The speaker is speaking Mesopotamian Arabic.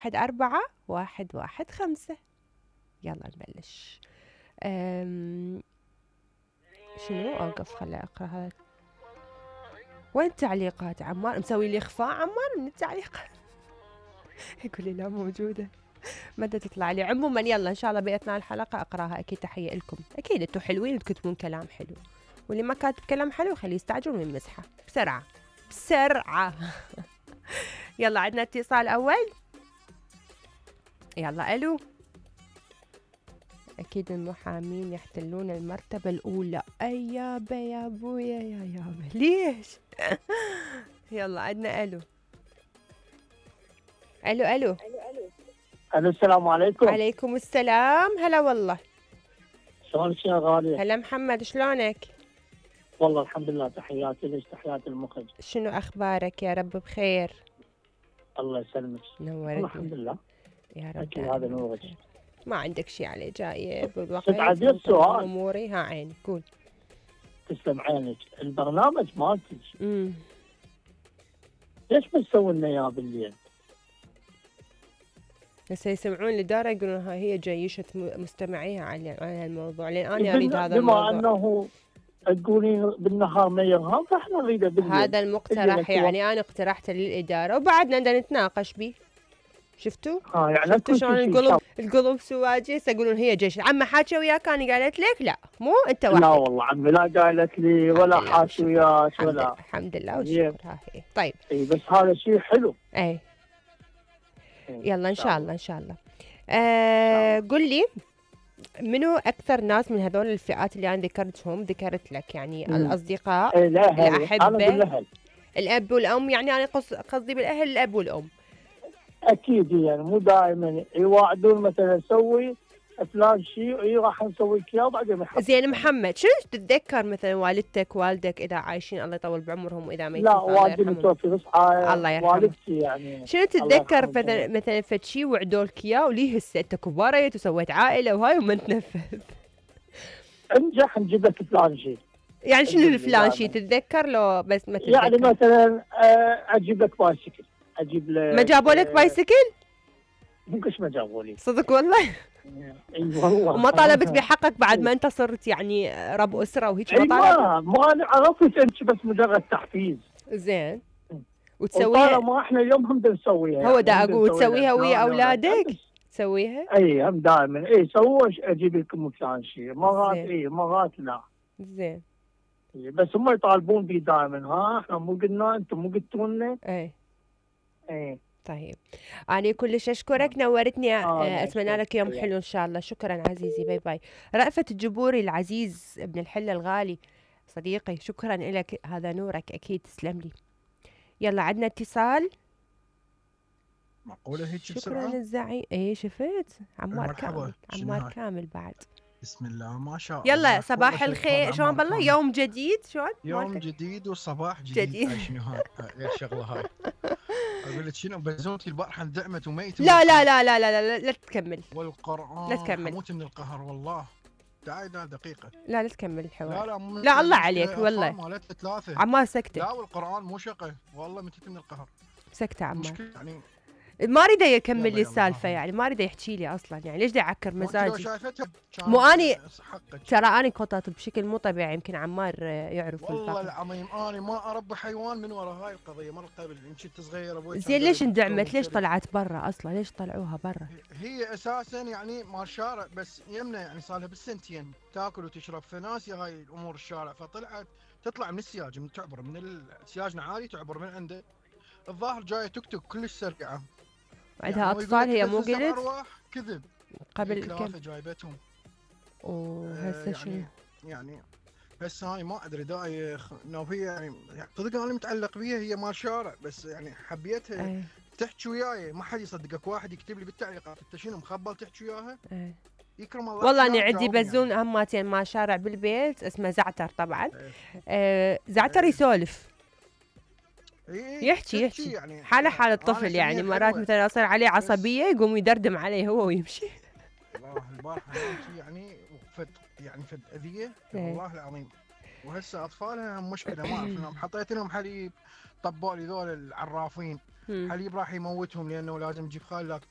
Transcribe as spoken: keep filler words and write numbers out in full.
واحد أربعة واحد واحد خمسة. يلا نبلش. أم... شنو أوقف خلي أقرأ هذا. وين التعليقات عمار؟ مسوي لي إخفاء عمار من التعليقات. يقول لي لا موجودة، متى تطلع لي. عموما يلا إن شاء الله بأثناء الحلقة أقراها. أكيد تحية لكم، أكيد أنتوا حلوين وتكتبون كلام حلو، واللي ما كاتب كلام حلو خليه يستعجل ويمسحه بسرعة بسرعة. يلا عندنا اتصال أول. يلا ألو. أكيد المحامين يحتلون المرتبة الأولى. أي يابا يا أبويا يا يابا ليش؟ يلا عندنا ألو. ألو ألو ألو السلام عليكم. عليكم السلام. هلا والله. شلونك يا غالية؟ هلا محمد، شلونك؟ والله الحمد لله، تحياتي لك تحياتي المخرج. شنو أخبارك؟ يا رب بخير. الله يسلمك. نورتني. الحمد لله يا رب. أكيد هذا نورك. ما عندك شيء عليه جايب والوقت عندي سؤال. أموري ها عيني. قول. تسلم عينك. البرنامج مالتك امم ليش ما تسوي لنا اياه بالليل؟ هسه يسمعون الإدارة يقولون ها هي جيشة مستمعيها على الموضوع، لأن أنا أريد هذا الموضوع. بما أنه تقولين بالنهار ما يرهب فاحنا نريده بالليل. هذا المقترح يعني أنا اقترحته للإدارة وبعدنا بدنا نتناقش به. شفتوا؟ اه يعني شفتوا شلون القلب القلب سواجي يقولون هي جيش. عمي حاكي وياك أنا قالت لك لا مو أنت واحد. لا والله عمي لا قالت لي ولا حاكي وياك ولا. الحمد لله والشكر. ها هي طيب. اي بس هذا شيء حلو. اي يلا ان شاء الله ان شاء الله. آه قل لي منو اكثر ناس من هذول الفئات اللي انا ذكرتهم ذكرت لك يعني مم. الاصدقاء إيه الاحبه الاب والام، يعني انا قصدي بالاهل الاب والام. اكيد يعني مو دائما يواعدون مثلا سوي فلان شيء اي راح نسوي لك اياه بعدين. زين محمد، شنو تتذكر مثلا والدتك والدك اذا عايشين الله يطول بعمرهم واذا ميتين؟ لا والدي متوفي بس الله يرحمه. والدتي يعني شنو تتذكر مثلا مثلا فد شيء وعدوا لك اياه وليه هسه انت كبرت وسويت عائله وهاي وما تنفذ؟ انجح نجيب لك فلان شيء. يعني شنو الفلان شيء تتذكر لو بس ما تتذكر؟ يعني مثلا اجيب لك بايسكل، اجيب لك. ما جابوا لك بايسكل؟ مش ما جابوا لي. صدق والله؟ اي والله. وما طالبت بحقك بعد ما انت صرت يعني رب اسره وهيك؟ ما طالبت؟ ما انا عرفت انت بس مجرد تحفيز. زين. وتسويها؟ ما احنا اليوم هم نسويها. هو دا اقول تسويها ويا اولادك؟ تسويها؟ اي هم دائما اي سووا اجيب لكم فلان شيء، مرات اي مرات لا. زين. بس هم يطالبون بي دائما. ها احنا مو قلنا انتم مو قلتوا لنا؟ اي اي طيب أنا كلش أشكرك، نورتني. آه أتمنى لك يوم حلو إن شاء الله. شكرا عزيزي، باي باي. رأفت الجبوري العزيز ابن الحلة الغالي صديقي، شكرا لك، هذا نورك أكيد، تسلم لي. يلا عندنا اتصال. معقولة هيك شكرا بسرعة؟ الزعيم. ايه شفت عمار مرحبا. كامل. عمار كامل بعد. بسم الله ما شاء الله. يلا صباح الخير. شلون بالله؟ يوم جديد. شلون؟ يوم جديد وصباح جديد, جديد. شنو هاي غير شغله هاي. اقول لك شنو بزوتي البارحه اندعمت وميت. لا لا لا لا لا لا لا تكمل. والقرآن لا تكمل. اموت من القهر والله. تعالي لا دقيقه. لا لا تكمل الحوار. لا لا لا الله عليك والله. مالت ثلاثه. عمار سكته. لا والقرآن مو شقه والله متيت من القهر. سكته عمار. مشكلة يعني ما اريده يكمل لي السالفه، يعني ما اريده يحكي لي اصلا، يعني ليش دا يعكر مزاجي؟ مو اني ترى اني قطعت بشكل مو طبيعي، يمكن عمار يعرف. والله العظيم انا ما اربي حيوان من ورا هاي القضيه مره قبل. ان كنت صغير ابوي. زين ليش اندعمت؟ ليش طلعت برا اصلا؟ ليش طلعوها برا؟ هي اساسا يعني مال شارع، بس يمنا يعني صار لها بالسنتين تاكل وتشرب، فناسي هاي الامور الشارع، فطلعت تطلع من السياج، من تعبر من السياجنا عالي تعبر من عنده. الظاهر جايه توك توك كلش سريعه. عندها يعني اطفال هي مو قلت؟ كذب قبل كم جايبتهم. وهسه آه شنو؟ يعني هسه هاي ما ادري دايخ انه هي يعني صدق انا متعلق بيها، هي مال شارع بس يعني حبيتها. أي. تحكي وياي ما حد يصدقك، واحد يكتب لي بالتعليقات انت شنو مخبل تحكي وياها؟ أي. يكرم الله. والله انا عندي بزون يعني. هماتين مال شارع بالبيت اسمه زعتر طبعا. أي. آه زعتر. أي. يسولف يحكي يحكي يعني حاله حال الطفل، يعني مرات مثلا اصير عليه عصبيه يقوم يدردم عليه هو ويمشي. والله البارحه يعني فد يعني فد اذيه والله العظيم. وهسه اطفالها مشكله ما اعرف انهم حطيت لهم حليب، طبوا لي ذول العرافين حليب راح يموتهم لانه لازم تجيب خال لاكتوز.